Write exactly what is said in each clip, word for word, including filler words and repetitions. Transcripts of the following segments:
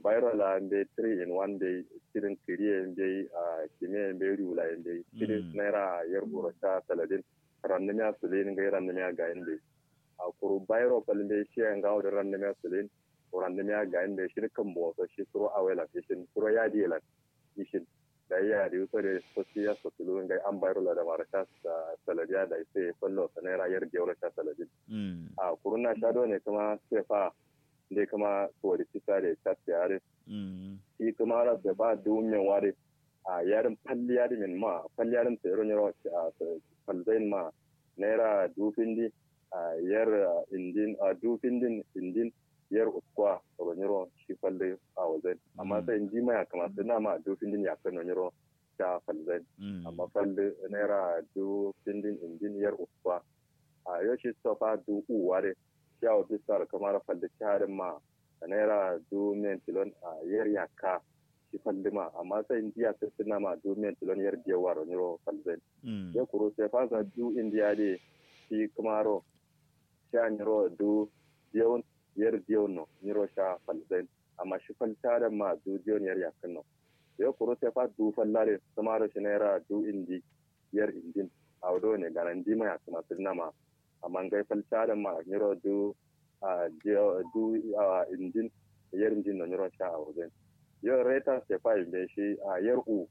Bairo la mbeyi three in one mbeyi, cidin kǝri ye mbeyi, a kime ye mbeyi, riwula ye mbeyi, cidin naira yer uro sha saladin. Rannum ya suluyin ngai, rannum ya gayin mbeyi. A kuru bairo fal mbeyi, shi ye ngawo dǝ rannum ya suluyin, rannum ya gayin mbeyi. Shi dǝ kǝmbo so shi suro awo ye lan ishin, suro yadi ye lan ishin. Dayi yadi so dǝ sotti ya sotulu ngai, am bairo la da maro sha saladi ya. Dayi sai fallo so naira yer diyo ro sha saladin. A kuru na sha done kǝma sefa nde kǝma sori cisa de catte adǝ. Shi kǝma ra sefa duwun men wari. A yarin falli yadi men ma, falli yadin sai ro nyiro falzain ma. Naira dufindi a yer indin, a dufindin indin yer uskwa ro nyiro shi falli a wazain. Amma sai ndi ma ya kǝma sai na ma dufindin ya kano nyiro sha falzain. Amma falli naira dufindin indin yer uskwa. A yo shi sofa du uwa de. Shi awo bisa ro kǝma ro falli cahadin ma naira du men tilon a yer yakka. Shi falli ma amma sai ndiya sirtinna ma du men tilon yer diyo waro nyiro falzain. Yo kuru sai fansa du indiya de shi kǝma ro sha nyiro du diyawun yer diyawun no nyiro sha falzain. Amma shi fal cahadin ma du diyawun yer yakkǝn no. Yo kuru sai fa du falla de kǝma ro shi naira du indi yer indin. Awo done gana ndi ma ya kǝma sirna ma. Amma ngai fal cahadin ma nyiro du a du a indin yer indin no nyiro sha awo zain. Yo reta sefa inde shi a yer u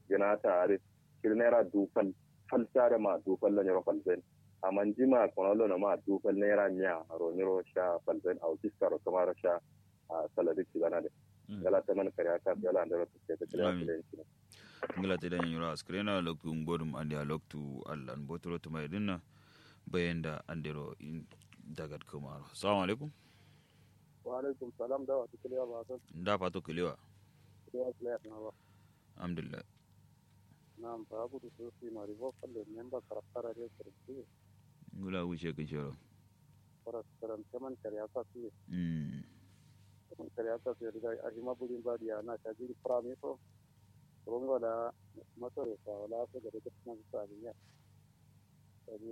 gǝna ta adǝ. Shi naira du fal, fal cahadin ma du fal no nyiro falzain. Amma ndi ma kono lo no ma du fal naira miya ro nyiro sha falzain. Awo fiska ro kǝma ro sha a saladi cigana de. Ngala taman kare aka yala andero tukke ta kare aka len cino. Ngala te da nyanyiro askirena loktu ngodum ande a loktu allan botoro tuma idinna. Bayenda andero in dagat kumaro. Assalamu alaikum. Wa alaikum salam, da wa tukule wa basan. Nda fato kulewa. Kulewa kulewa na ba. Alhamdulillah. Nam ba gudu so si mari bo falle memba karaktara de kurti. Ngula wuce kin shoro. Faras karam caman kare aka su. Caman kare aka su da arhima budin ba diya na ta jiri prami so. Rungo da masore sa wala so ga da kuma sa biya.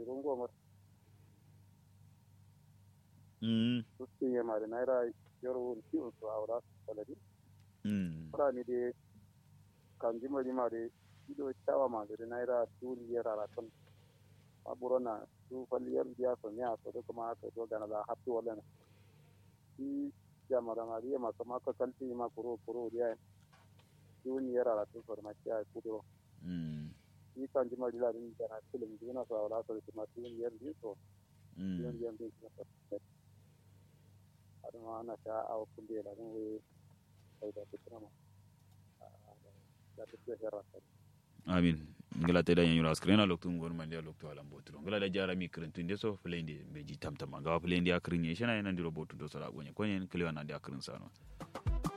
Rungo mar. Sustin ye mari naira yoro wun ki un so awra saladi. Furani de kanji mari mari ido cawa ma gari naira duli yar arakan. Aburo na du fal yar diya so ne a so duk ma aka do gana la happi wala na. Shi jamara mari ma kama ka kalti ma kuro kuro diya. Duli yar arakan so ma kiya kuduro. Shi kanji mari la din gana kilim duna so awra so ma duli yar din so. Duli yar din so. Adama na sha awo kunde la din we. Amin. Ngla te da nyanyura askirena loktu ngon mandiya loktu alambo turo ngla da jara mi kirintu nde so fulai nde mbeji tamtama ngawa fulai nde akirin ye shena ye nandiro botu do sara gonye konye kliwa nande akirin sano.